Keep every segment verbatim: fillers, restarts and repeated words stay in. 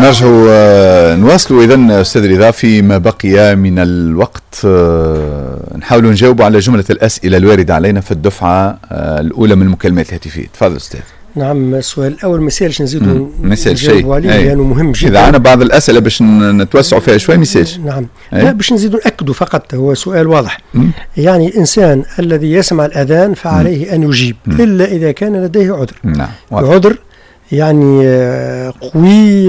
نرجعوا آه، نواصلوا اذا استاذ رضا فيما بقي من الوقت، آه، نحاولوا نجاوبوا على جملة الاسئلة الواردة علينا في الدفعة آه، الاولى من المكالمات الهاتفيه. تفضل استاذ. نعم، السؤال الاول ما يسالش نزيدوا ما يسالش شيء عليه لانه مهم جدا. اذا عندنا بعض الاسئلة باش نتوسعوا فيها شوي ما يسالش. نعم. أي. لا، باش نزيدوا ناكدوا فقط، هو سؤال واضح. مم. يعني الانسان الذي يسمع الاذان فعليه مم. ان يجيب، مم. الا اذا كان لديه عذر. نعم. واضح. عذر يعني آه، قوي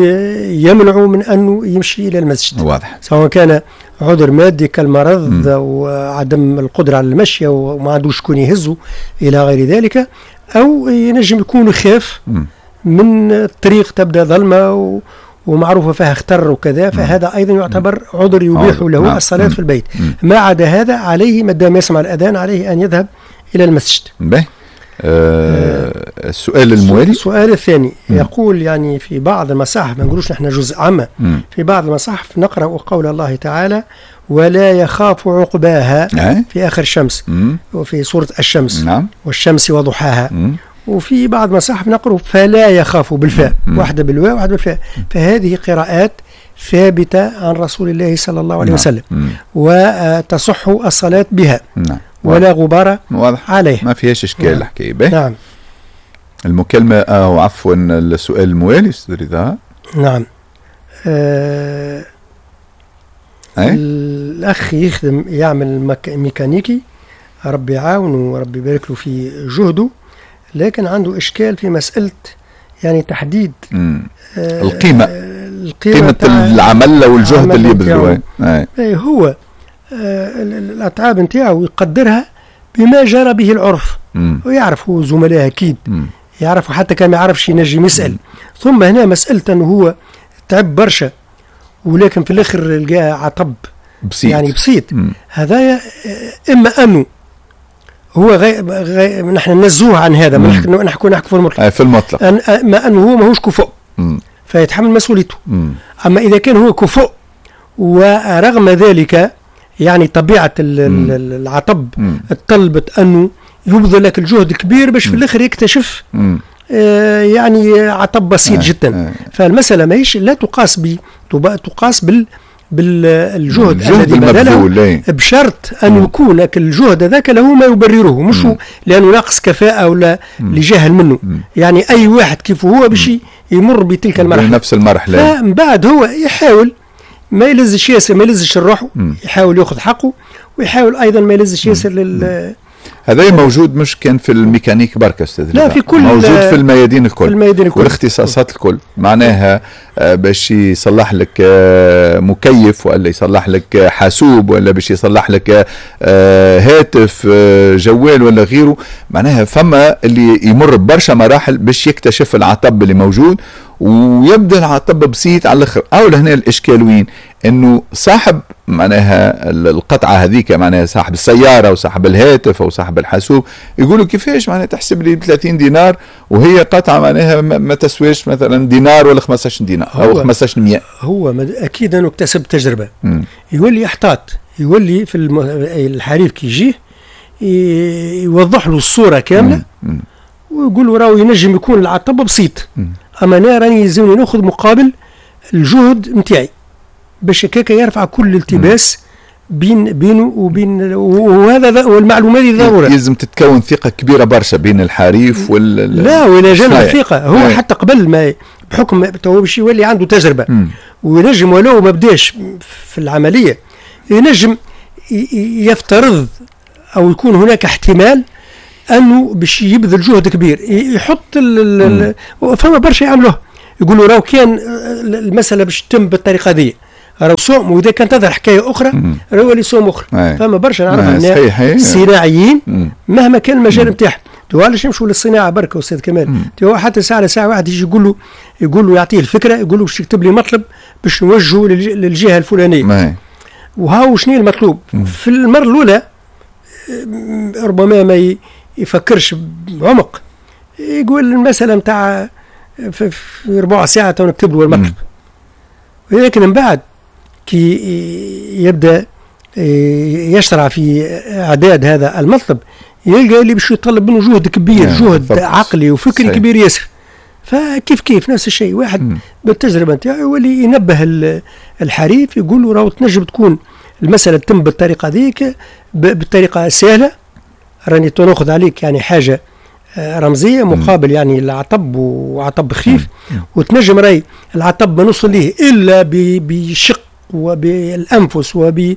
يمنعه من انه يمشي الى المسجد. واضح. سواء كان عذر مادي كالمرض او عدم القدرة على المشي وما عندوش شكون يهزه الى غير ذلك، او ينجم يكون خاف من الطريق تبدا ظلمه ومعروفة فيها خطر وكذا، فهذا ايضا يعتبر عذر يبيح له نعم. الصلاة في البيت. ما عدا هذا عليه ما دام يسمع الاذان عليه ان يذهب الى المسجد. باهي. آه السؤال الموالي. السؤال الثاني مم. يقول يعني في بعض المصاحف، ما نقولوش نحن جزء عامة، في بعض المصاحف نقرأ قول الله تعالى ولا يخاف عقباها أه؟ في آخر الشمس، مم. وفي سورة الشمس. نعم. والشمس وضحاها. مم. وفي بعض المصاحف نقرأ فلا يخاف بالفاء، واحدة بالواو واحدة بالفاء. فهذه قراءات ثابتة عن رسول الله صلى الله عليه نعم. وسلم، مم. وتصح الصلاة بها. نعم. ولا غبار واضح. عليه. ما فيهاش اشكال. نعم. الحكاية باهي. نعم. المكالمة او عفوا السؤال الموالي استاذ رضا. نعم. آه أي؟ الاخ يخدم يعمل مك... ميكانيكي، ربي يعاونه وربي يبارك له في جهده، لكن عنده اشكال في مسالة يعني تحديد مم. آه القيمة. القيمة قيمة العمل والجهد اللي يبذلوه. أي هو آه الاتعاب نتاعو يقدرها بما جرى به العرف. مم. ويعرف هو زملائه اكيد. مم. يعرف، حتى كان ما يعرفش ينجم يسال. ثم هنا مسالة انه هو تعب برشا ولكن في الاخر لقى عطب بسيط، يعني بسيط. هذايا اما انه هو غي... غي... نحن ننزوه عن هذا، ما نحكي نحكي نحكي في المطلق. في المطلق أن... اما انه هو ماهوش كفؤ فيتحمل مسؤوليته. مم. اما اذا كان هو كفؤ ورغم ذلك يعني طبيعة العطب طلبت انه يبذل لك الجهد كبير باش في الاخر يكتشف مم. آه يعني عطب بسيط آه جدا. آه. فالمسالة ماهيش لا تقاس ب تقاس بال بالجهد الذي بذله، بشرط ان يكون الجهد هذاك له ما يبرره، مش لانه ناقص كفاءة ولا لجهل منه. مم. يعني اي واحد كيف هو باش يمر بتلك المرحلة، نفس المرحلة. فمن بعد هو يحاول ما يلزش ياسر، ما يلزش الروح، يحاول ياخذ حقه، ويحاول ايضا ما يلزش ياسر لل هذا موجود مش كان في الميكانيك بركة استاذ، لا في كل موجود في الميادين الكل، في الميادين الكل والاختصاصات الكل. معناها باش يصلح لك مكيف ولا يصلح لك حاسوب ولا باش يصلح لك هاتف جوال ولا غيره، معناها فما اللي يمر ببرشا مراحل باش يكتشف العطب اللي موجود، ويبدا العطب بسيط على الاخر. او لهنا الاشكال وين؟ انه صاحب معناها القطعة هذيك، معناها صاحب السيارة وصاحب الهاتف او صاحب الحاسوب، يقولوا كيفاش معناها تحسب لي ثلاثين دينار وهي قطعه معناها ما تسواش مثلا دينار ولا خمسطاش دينار او خمسطاش مية. هو اكيد انه اكتسب تجربه. مم. يولي يحتاط، يولي في الحريف كي يجيه يوضح له الصورة كاملة. مم. ويقول له راهو ينجم يكون العطب بسيط، مم. اما انا راني يلزمني ناخذ مقابل الجهد نتاعي باش هكاك يرفع كل التباس بين بينه وبين، وهذا والمعلومات هذه ضرورة. لازم تتكون ثقة كبيرة برشا بين الحريف وال لا ولا جانب الثقة هو أي. حتى قبل ما بحكم تو باش يولي عنده تجربه. مم. وينجم ولو ما بداش في العملية ينجم يفترض او يكون هناك احتمال انه باش يبذل جهد كبير، يحط ال فما برشا يعملوه، يقولوا راهو كان المسالة باش تتم بالطريقة دي راهو سوم، واذا كان تظهر حكاية اخرى راهو يولي سوم اخرى. فما برشا نعرفهم صناعيين مهما كان المجال نتاعهم. تو علاش نمشوا للصناعة بركة استاذ كمال؟ تو حتى ساعة على ساعة واحد يجي يقول له يقول له يعطيه الفكرة، يقول له باش تكتب لي مطلب باش نوجهه للجهة الفلانية، وهاو شنو المطلوب. في المرة الاولى ربما ما يفكرش بعمق، يقول المسألة نتاع في ربع ساعة تو نكتب له المطلب. ولكن من بعد كي يبدأ يشرع في إعداد هذا المطلب يلقى اللي باش يطلب منه جهد كبير، نعم، جهد بالضبط. عقلي وفكري صحيح. كبير ياسر. فكيف كيف نفس الشيء، واحد مم. بالتجربة نتاعو يولي ينبه الحريف، يقول له راهو تنجم تكون المسالة تتم بالطريقة ذيك، بالطريقة سهلة، راني تناخذ عليك يعني حاجة رمزية مقابل يعني العطب وعطب خفيف، وتنجم راي العطب ما نوصل ليه الا بشق وبالانفس وب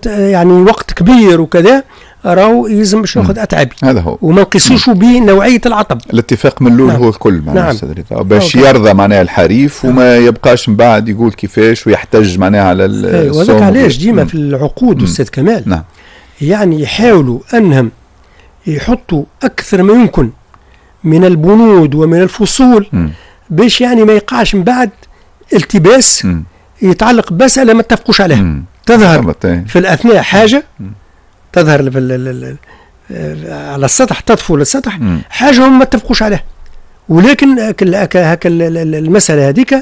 يعني وقت كبير وكذا، راهو يلزم باش ناخذ اتعابي هذا هو، وما نقيسوش بنوعيه العطب. الاتفاق من الاول. نعم. هو الكل معناها. نعم. باش يرضى معناها الحريف. نعم. وما يبقاش من بعد يقول كيفاش ويحتج معناها على السوم. وهذاك علاش ديما في العقود استاذ كمال. نعم. يعني يحاولوا انهم يحطوا اكثر ما يمكن من البنود ومن الفصول م. باش يعني ما يقعش من بعد التباس م. يتعلق بمسالة ما اتفقوش عليها. م. تظهر في الاثناء حاجة م. تظهر في ال ال على السطح، تطفو للسطح حاجة هم ما اتفقوش عليها، ولكن هكا المسالة هذيك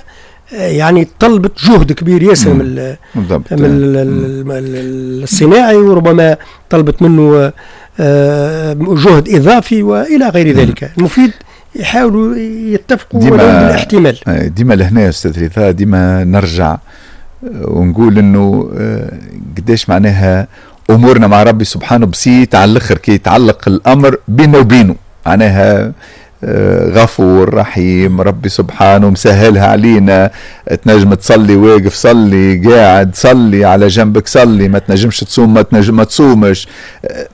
يعني طلبت جهد كبير ياسر من من الصناعي، وربما طلبت منه جهد اضافي والى غير ذلك. المفيد يحاولوا يتفقوا ولو بالاحتمال. ديما لهنا يا استاذ رضا ديما نرجع ونقول انه قداش معناها امورنا مع ربي سبحانه بسيط على الاخر كي يتعلق الامر بينه وبينه، معناها غفور رحيم ربي سبحانه مسهلها علينا. تنجم تصلي واقف صلي، قاعد صلي، على جنبك صلي، ما تنجمش تصوم ما تنجم ما تصومش.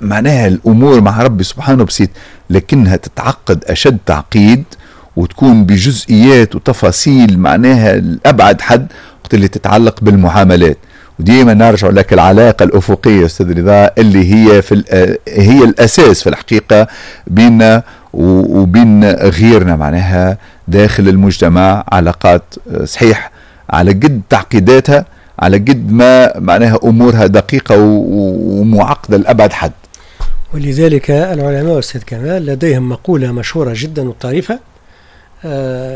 معناها الامور مع ربي سبحانه بسيط، لكنها تتعقد اشد تعقيد وتكون بجزئيات وتفاصيل معناها لابعد حد وقت اللي تتعلق بالمعاملات. وديما نرجع لك العلاقة الأفقية أستاذ رضا اللي هي في هي الأساس في الحقيقة بيننا وبين غيرنا، معناها داخل المجتمع علاقات صحيح على قد تعقيداتها، على قد ما معناها أمورها دقيقة ومعقدة لأبعد حد. ولذلك العلماء أستاذ كمال لديهم مقولة مشهورة جدا وطريفة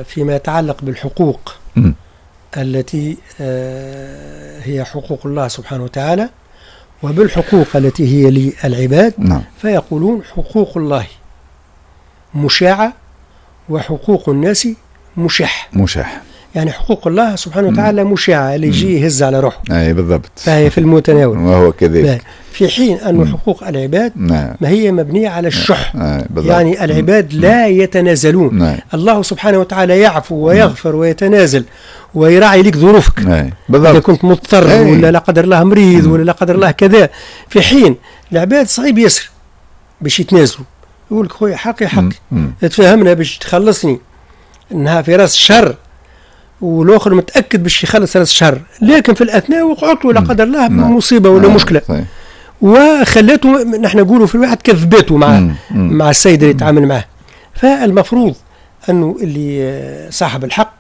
فيما يتعلق بالحقوق م. التي هي حقوق الله سبحانه وتعالى وبالحقوق التي هي للعباد. نعم. فيقولون حقوق الله مشاعة وحقوق الناس مشح. مشح يعني حقوق الله سبحانه وتعالى مشاعة، اللي يجي يهز على روحه. اي بالضبط، فهي في المتناول وهو كذلك. في حين أن حقوق العباد نعم. ما هي مبنية على الشح. نعم. يعني العباد لا يتنازلون. نعم. الله سبحانه وتعالى يعفو ويغفر ويتنازل ويراعي لك ظروفك. نعم. إذا كنت مضطر أي. ولا لا قدر الله مريض ولا لا قدر الله كذا. في حين العباد صعيب ياسر باش يتنازلوا، يقول لك خويا حقي حقي، تفهمنا باش تخلصني انها في راس الشهر، والاخر متاكد باش يخلص راس الشهر، لكن في الاثناء وقعت له لا قدر الله مصيبة ولا مشكلة وخلاته، نحن نقولوا في الواحد كذبته مع مم. مع السيد اللي يتعامل معه. فالمفروض انه اللي صاحب الحق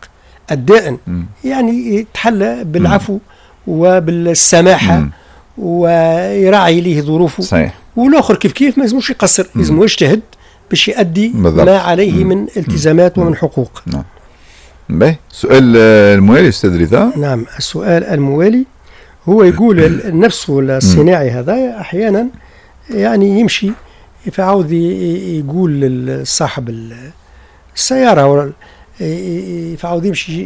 الدائن يعني يتحلى بالعفو وبالسماحه مم. ويراعي ليه ظروفه. صحيح. والاخر كيف كيف ما لازموش يقصر، لازم يجتهد باش يؤدي بالضبط. ما عليه مم. من التزامات مم. ومن حقوق. نعم. باهي، السؤال الموالي استاذ رضا. نعم، السؤال الموالي هو يقول نفسه الصناعي هذا احيانا يعني يمشي فعاود يقول لصاحب السيارة، فعاود يمشي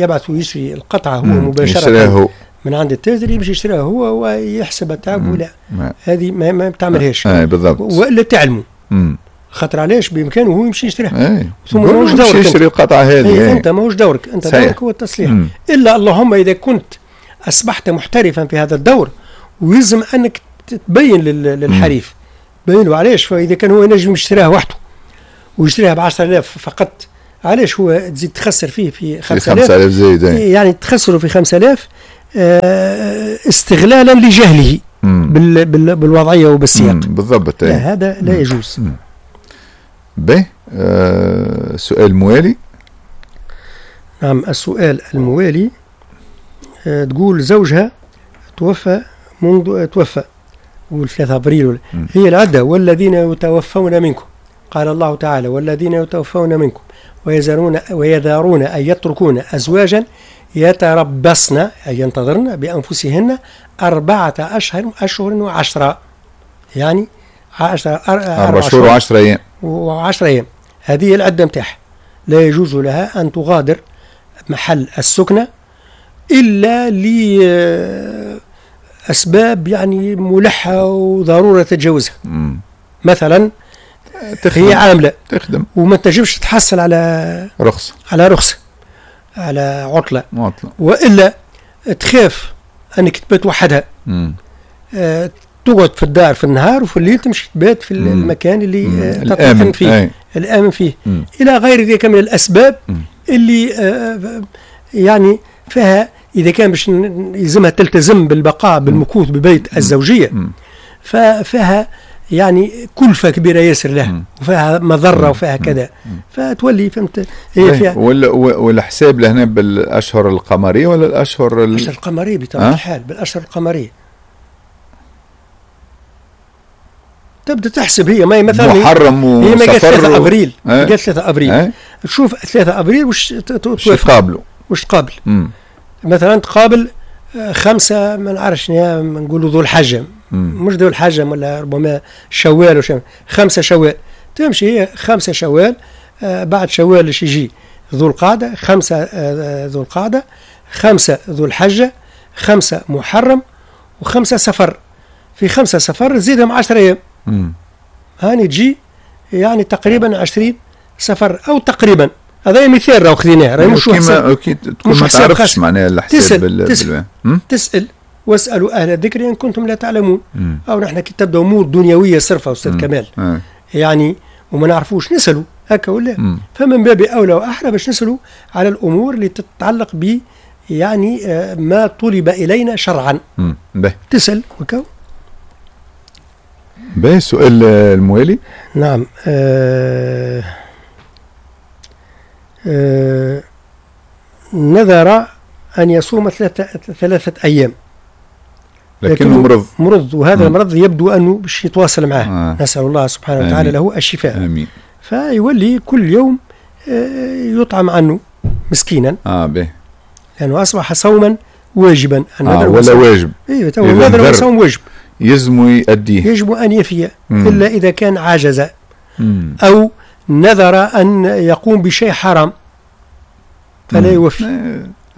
يبعث ويشري القطعة هو مباشرة من عند التاجر، يمشي يشتريها هو ويحسب التعب. ولا هذه ما, ما تعملهاش. اي بالضبط. والا تعلموا. خاطر علاش بامكانه هو يمشي يشتريها. ايه. ثم ماهوش دورك يشتري القطعة هذه. ايه. انت ماهوش دورك، انت صحيح. دورك هو التصليح. مم. الا اللهم اذا كنت اصبحت محترفا في هذا الدور ويلزم انك تبين للحريف، بين له علاش. فاذا كان هو ينجم يشتريها وحده ويشتريها ب عشرة آلاف فقط، علاش هو تزيد تخسر فيه في خمسة آلاف زايد؟ يعني تخسره في خمسة آلاف استغلالا لجهله بال بال بالوضعيه وبالسياق. بالضبط. لا، هذا لا يجوز. باهي، آه سؤال موالي. نعم، السؤال الموالي آه تقول زوجها توفى منذ توفى قول ثلاثة أبريل. هي العدة والذين يتوفون منكم، قال الله تعالى والذين يتوفون منكم ويذرون ويذرون أن يتركون أزواجا يتربصن أي ينتظرن بأنفسهن أربعة أشهر أشهر وعشرة، يعني عشرة أربع شهور وعشرة أيام وعشرة أيام. هذه العدة نتاعها. لا يجوز لها أن تغادر محل السكنة إلا لأسباب يعني ملحة وضرورة تتجاوزها. مثلا تخدم. هي عاملة تخدم وما تنجمش تحصل على رخصة، على رخصة، على عطلة، عطلة. وإلا تخاف أنك تبات وحدها. آه، تقعد في الدار في النهار وفي الليل تمشي تبات في مم. المكان اللي تطمئن فيه، أي. الآمن فيه. مم. إلى غير ذلك من الأسباب مم. اللي آه يعني فيها إذا كان باش يلزمها تلتزم بالبقاء بالمكوث ببيت الزوجية، ففيها يعني كلفة كبيرة ياسر لها وفيها مضرة وفيها كذا، فتولي فهمت هي فيها. والحساب لهنا بالأشهر القمرية ولا الأشهر ال... الأشهر القمرية بطبيعة الحال، بالأشهر القمرية تبدا تحسب هي ما مثلا محرم هي ما قالت ثلاثة أبريل، قالت ثلاثة أبريل، تشوف ثلاثة أبريل وش تقابلوا وش تقابل. مم. مثلا تقابل خمسة ما نعرفش نقولوا ذو الحجة، مش ذو الحجة ولا ربما شوال وشوال، خمسة شوال تمشي هي خمسة شوال، آه بعد شوال ايش يجي ذو القعدة، خمسة آه ذو القعدة، خمسة ذو الحجة، خمسة محرم، وخمسة سفر. في خمسة سفر تزيدهم عشرة أيام، هاني تجي يعني تقريبا عشرين سفر أو تقريبا. هذا مثال راهو خذيناه، راهي مش حساب، تكون ما تعرفش معناها الحساب. تسأل بال... تسأل, بال... تسأل واسألوا أهل الذكر إن كنتم لا تعلمون. مم. أو نحن كي تبدأ أمور دنيوية صرفة أستاذ كمال، مم. يعني وما نعرفوش نسألوا هكا ولا، مم. فمن باب أولى وأحرى باش نسألوا على الأمور اللي تتعلق ب يعني ما طلب إلينا شرعا. تسأل وكو. باهي، السؤال الموالي. نعم. آه آه نذر أن يصوم ثلاثة, ثلاثة أيام لكنه مرض مرض وهذا مم. المرض يبدو أنه باش يتواصل معه. آه. نسأل الله سبحانه وتعالى له الشفاء. آمين. فيولي كل يوم يطعم عنه مسكينا. آه به. لأنه أصبح صوما واجبا. آه ولا واجب. أيوه النذر صوم واجب يلزم يؤديه، يجب أن يفي، إلا إذا كان عاجز مم. أو نذر أن يقوم بشيء حرام فلا يوفي.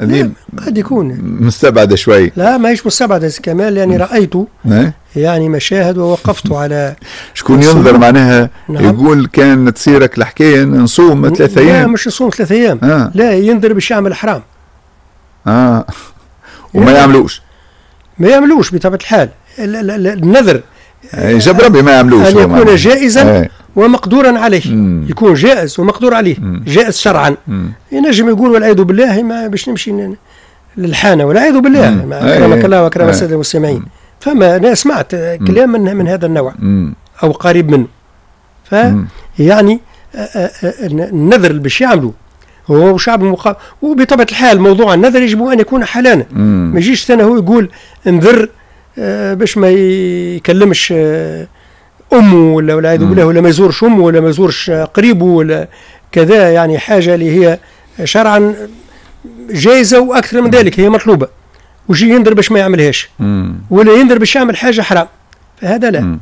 هذه قد يكون مستبعدة شوي. لا ماهيش مستبعدة كمال، لأني رأيت يعني مشاهد ووقفت على شكون ينظر معناها. نعم. يقول كان تصيرك الحكاية نصوم ثلاثة أيام. لا مش نصوم ثلاثة أيام. آه. لا ينذر باش يعمل حرام. اه وما يعملوش. ما يعملوش بطبيعة الحال. النذر جاب ربي ما يعملوش أن يكون جائزا أي. ومقدورا عليه. مم. يكون جائز ومقدور عليه. مم. جائز شرعا. ينجم يقول والعياذ بالله ما باش نمشي للحانه والعياذ بالله، اكرمك الله واكرم السادة المستمعين. فما انا سمعت كلام من, من هذا النوع. مم. او قريب منه. ف يعني النذر اللي باش يعملوا هو شعب مقا... وبطبيعة الحال موضوع النذر يجب ان يكون حلالا. ما يجيش ثاني هو يقول انذر باش ما يكلمش امه ولا والعياذ بالله، ولا ما يزورش امه ولا ما يزورش قريبه ولا كذا، يعني حاجة اللي هي شرعا جائزة واكثر من ذلك هي مطلوبه، ويجي ينذر باش ما يعملهاش. مم. ولا ينذر باش يعمل حاجة حرام، فهذا لا. مم.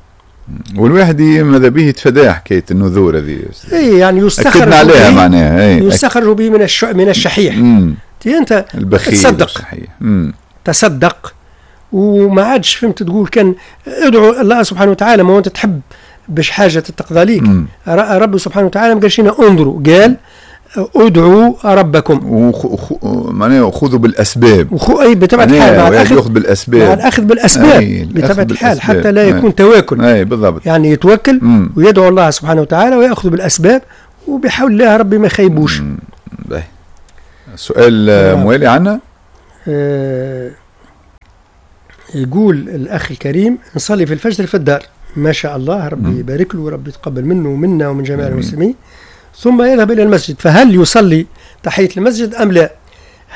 والواحد ماذا به يتفادى حكاية النذور هذه. اي يعني يستخرج أكدنا عليها معناها. اي يستخرج به من الش... من الشحيح. انت البخيل تصدق. تصدق وما عادش فهمت تقول كان ادعو الله سبحانه وتعالى، ما هو انت تحب باش حاجة تتقضى ليك. ربي سبحانه وتعالى ما قالش لنا انظروا، قال ادعوا ربكم وخ... معناها خذوا بالاسباب. وخو... اي بطبيعة الحال مع الاخذ ياخذ بالاسباب، مع الاخذ بالاسباب بطبيعة الحال حتى لا يكون تواكل. اي بالضبط، يعني يتوكل. مم. ويدعو الله سبحانه وتعالى وياخذ بالاسباب وبحول الله ربي ما يخيبوش. سؤال موالي عنا. آه... يقول الأخ الكريم نصلي في الفجر في الدار، ما شاء الله ربي يبارك له وربي يتقبل منه ومنا ومن جميع المسلمين، ثم يذهب إلى المسجد، فهل يصلي تحية المسجد أم لا؟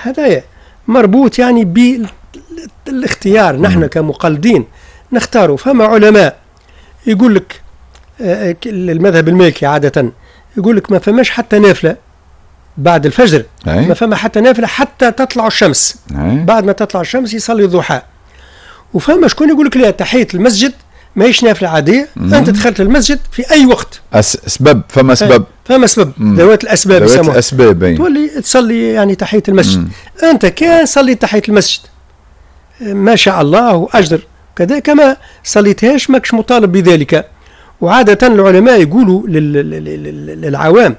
هذا مربوط يعني بالاختيار. نحن كمقلدين نختاره. فما علماء يقول لك المذهب المالكي عادة يقول لك ما فماش حتى نافلة بعد الفجر. أي. ما فما حتى نافلة حتى تطلع الشمس. أي. بعد ما تطلع الشمس يصلي الضحى. وفما شكون يقول لك لا، تحية المسجد ماهيش نافلة عادية. مم. انت دخلت المسجد في اي وقت. أس... سبب، فما سبب. فما سبب، ذوات الاسباب. ذوات الاسباب. تولي تصلي يعني تحية المسجد. مم. انت كان صليت تحية المسجد ما شاء الله واجر كذا، كما صليتهاش ماكش مطالب بذلك. وعاده العلماء يقولوا للعوام،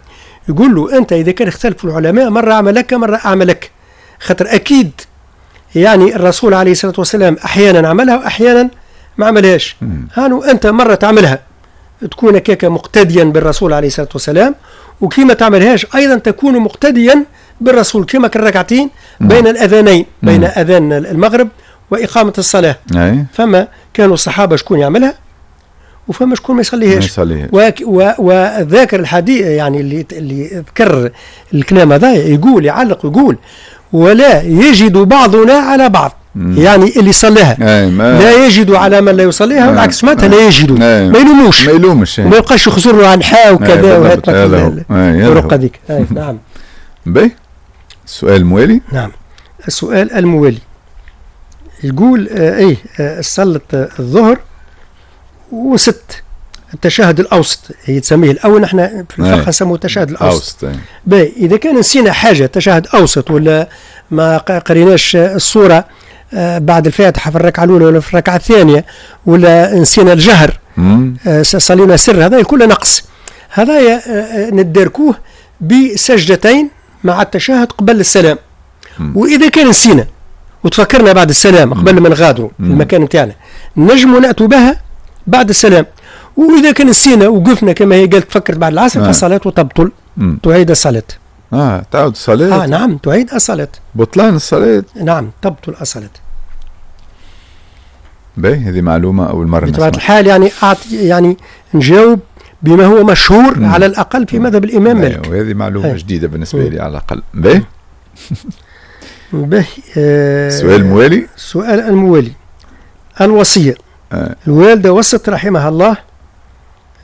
يقولوا انت اذا كان اختلفوا العلماء، مرة اعملك مرة اعملك، خاطر اكيد يعني الرسول عليه الصلاة والسلام احيانا عملها واحيانا ما عملهاش. هانو انت مرة تعملها تكون كيكا مقتديا بالرسول عليه الصلاة والسلام، وكيما تعملهاش ايضا تكون مقتديا بالرسول، كما كالركعتين بين الاذانين، بين اذان المغرب واقامه الصلاه. أي. فما كانوا الصحابة شكون يعملها وفما شكون ما يصليهاش. وذاكر الحديث يعني اللي اللي ذكر الكلام هذا يقول، يعلق يقول: ولا يجد بعضنا على بعض. مم. يعني اللي صلاها لا يجد على من لا يصليها، والعكس، معناتها لا يجد ما يلوموش. ما يلومش. وما يبقاش يخزر له عن حا وكذا وهات الرقة هذيك. نعم. باهي، السؤال الموالي. نعم، السؤال الموالي يقول آه ايه آه صلت الظهر وست التشهد الاوسط، هي تسميه الاول، نحن في الفقه نسموه التشهد الاوسط. باهي، اذا كان نسينا حاجه، تشهد اوسط ولا ما قريناش السورة آه، بعد الفاتحة في الركعة الاولى ولا في الركعة الثانيه، ولا نسينا الجهر، آه، صلينا سر، هذا كله نقص، هذا آه، نداركوه بسجدتين مع التشهد قبل السلام. واذا كان نسينا وتفكرنا بعد السلام قبل ما نغادروا المكان نتاعنا، نجموا ناتوا بها بعد السلام. واذا كان نسينا وقفنا كما هي قالت تفكرت بعد العصر، آه. فالصلاة تبطل، تعيد الصلاه. اه، تعود الصلاة. اه نعم، تعيد الصلاة. بطلان الصلاة. نعم، تبطل الصلاة. باهي، هذه معلومة أول مرة. بطبيعة الحال يعني أعطي يعني نجاوب بما هو مشهور مم. على الأقل في مذهب الإمام مالك. وهذه معلومة هي. جديدة بالنسبة لي على الأقل. باهي. باهي. آه السؤال الموالي. السؤال الموالي: الوصية. آه. الوالدة وصت رحمها الله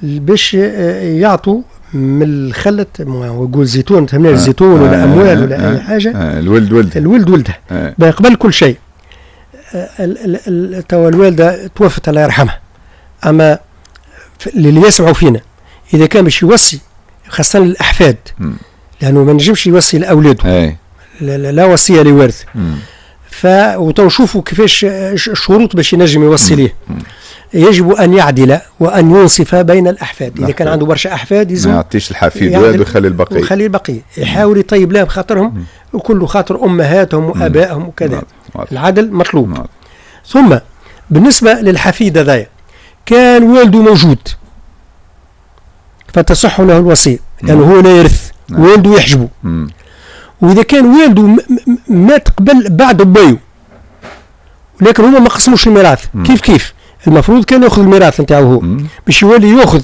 باش آه، يعطوا من الخلة، يقول زيتون، تهمنا آه. الزيتون ولا آه. اموال ولا آه. اي حاجه. آه. الولد ولد. الولد ولده. آه. قبل كل شيء توا الوالدة توفت الله يرحمها، اما اللي يسمعوا فينا اذا كان باش يوصي خاصة للاحفاد، لانه ما نجمش يوصي لاولاده، لا, لا وصية لوارث. ف وتو نشوفوا كيفاش الشروط باش ينجم يوصي ليه. يجب ان يعدل وان ينصف بين الاحفاد، اذا كان عنده برشا احفاد. يلزم ما يعطيش الحفيد واحد ويخلي البقيه. ويخلي البقيه، يحاول يطيب لهم خاطرهم وكل خاطر امهاتهم وابائهم وكذا. العدل مطلوب. ثم بالنسبة للحفيد هذايا، كان والده موجود فتصح له الوصيه، لانه هو لا يرث. نعم. والده يحجبه. واذا كان والده مات قبل بعد بويو لكن هما ما قسموش الميراث، كيف كيف المفروض كان ياخذ الميراث نتاعو هو، باش يولي ياخذ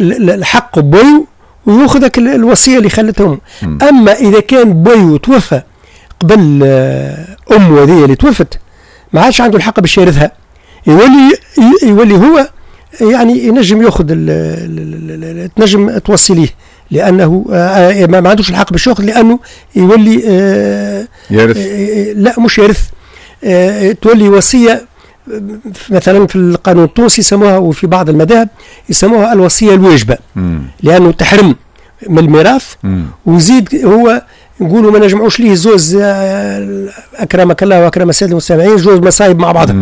الحق بويو وياخذ الوصية اللي خلتهم. اما اذا كان بويو توفى قبل آه، امه هذه اللي توفت، ما عادش عنده الحق باش يرثها، يولي يولي هو يعني ينجم ياخذ، تنجم توصي ليه، لانه آه، ما عندوش الحق باش ياخذ لانه يولي آه، يرث. لا، مش يرث، تولي وصيه. مثلا في القانون التونسي يسموها، وفي بعض المذاهب يسموها الوصية الواجبه، لانه تحرم من الميراث وزيد هو نقولوا ما نجمعوش ليه زوز، آه، اكرمك الله واكرم السادة المستمعين، زوز مصايب مع بعضها،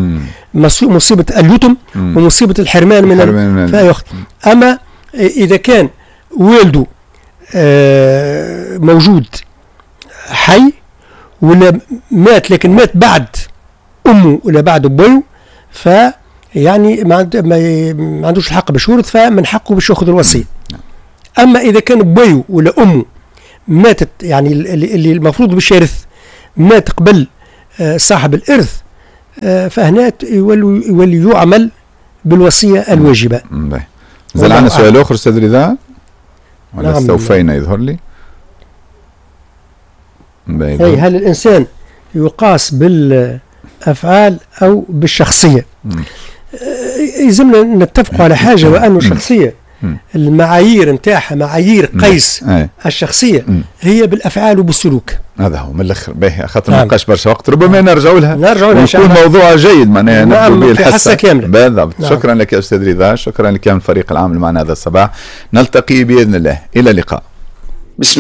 مصيبة اليتم ومصيبه الحرمان من فيأخذ. اما اذا كان والده آه، موجود حي ولا مات، لكن مات بعد امه ولا بعد ابوه، فيعني ما, ما عندوش الحق باش يورث، فمن حقه باش ياخذ الوصيه. اما اذا كان بويو ولا امه ماتت، يعني اللي المفروض باش يرث مات قبل آه، صاحب الارث، آه، فهنا يولي يولي يعمل بالوصية الواجبه. زال عندنا سؤال اخر استاذ رضا ولا؟ نعم، استوفينا يظهر لي. أي هل الانسان يقاس بالافعال او بالشخصية؟ يلزمنا نتفق على حاجه، وانه الشخصية المعايير نتاعها، معايير قيس أي. الشخصية مم. هي بالافعال وبالسلوك. هذا هو من الاخر. باهي، خاطر ما نعم. بقاش برشا وقت، ربما نرجعوا لها نرجعوا لها إن شاء ويكون الله. موضوع جيد معناها نعم، نبدو به في الحصة حصة كاملة. بالضبط. نعم. شكرا لك يا استاذ رضا، شكرا لك من الفريق العام معنا هذا الصباح. نلتقي باذن الله، الى اللقاء.